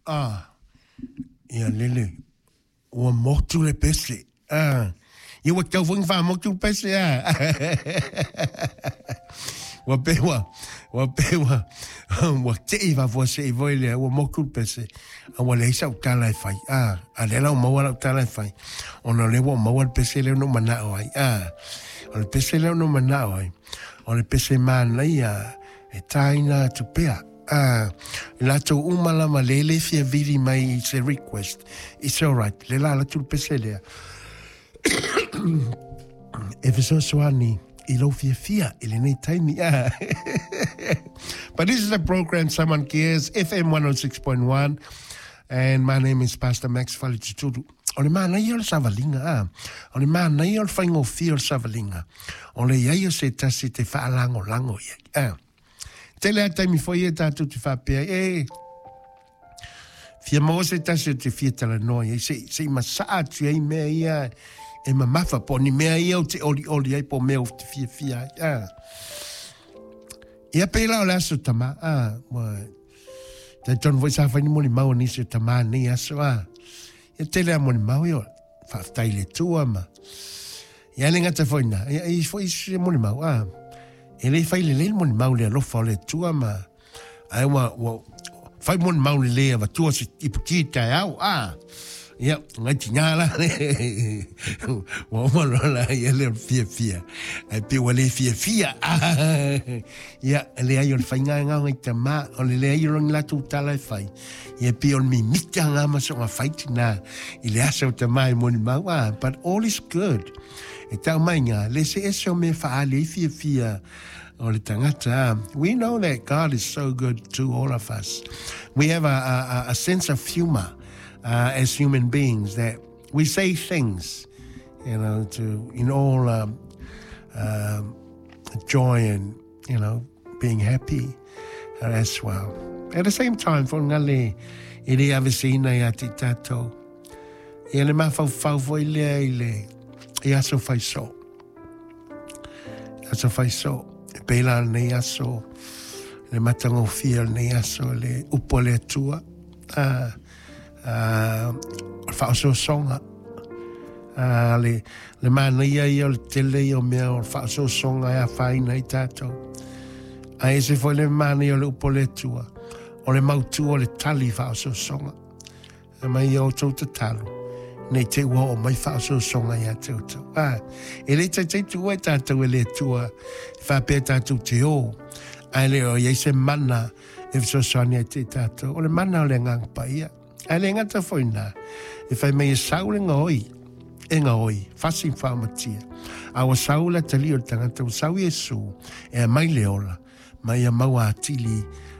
Ah, ia lele, ua motu le pese. Ah, ia ua tau foi ona faamotu le pese, ah. Ua pe ua, ua pe ua, ua tei faafuasei foi lea, ua motu le pese, a ua leai sau tala e fai. Ah, a lea la ua maua lau tala e fai, ona o lea ua maua le pese lea na ou manao ai. Ah, o le pese lea na ou manao ai, o le pese manaia e tāina atu pea. Ah, i latou uma lava le le fia vili mai i se request, it's alright, le la alu atu le pese lea. E fesoasoani i lou fiafia i lenei taimi. Ah. But this is a program Someone Cares, FM 106.1, and my name is Pastor Max Faletutulu. O le manaia o le savaliga, a. O le manaia o le faigofie o le savaliga. O le i ai o se tasi te faalagolago i ai. A. Tele a taimi foi e tātou te faapea, e, fia maua se tasi o te fia talanoa i ai, se, se i masaa atu ai mea ia e mamafa, po o ni mea ia ou te olioli ai, po o mea ou te fiafia ai. A. Ia pēlā o le aso tama, a, ua, talitonu foi sa fai ni molimau a nisi o tama nei aso, a. Ia tele a molimau ia, faafetai i le Atua ma, ia le gata foi na, ia i foi se molimau, a. E le fai lelei le molimau i le alofa o le Atua ma, ae ua, ua fai molimau lelei avatua se iputi i taeao, a. Ia, ngai tina la, ua uma loa la ia le fiafia, ae pei ua le fiafia. Ia, e leai o le faiga e ngao ngai tama, o le leai o ni latou tala e fai. Ia pei o le mimita ngā ma soga fai tina i le asa o tama e molimau, ah, but all is good. E tau mai ngā, le se ese o mea whaali ai fiafia o le tangata. We know that God is so good to all of us. We have a sense of humor as human beings that we say things, to in all joy and, being happy as well. At the same time, fo ngale i le aveseina ia te tātou. Ia le mafaufau foi lea i le i aso fai so. Aso fai so. E pēlā lenei aso, le matagofie o lenei aso, le upu a le Atua, a, a, o le faaosoosoga. A, le, le manaia ia o le tele ia o mea o le faaosoosoga e afaina ai tātou. A ese foi le manaia o le upu a le Atua, o le mautū o le tali faaosoosoga. E mai i a outou tatalo, nei te ua oo mai faaosoosoga ia te outou. A, e le taitai tuua i tātou e le Atua, e faapea tātou te ō, ae le o i ai se mana e fesoasoani ai te i tātou. O le mana o le Agaga Paia. Ae le gata foi nā, e whai mai e sau le ngaoi, e ngaoi, fasi whaamatia. A ua sau le atalii o le tangata, ua sau Iesu, e aumai le ola, ma ia maua atili.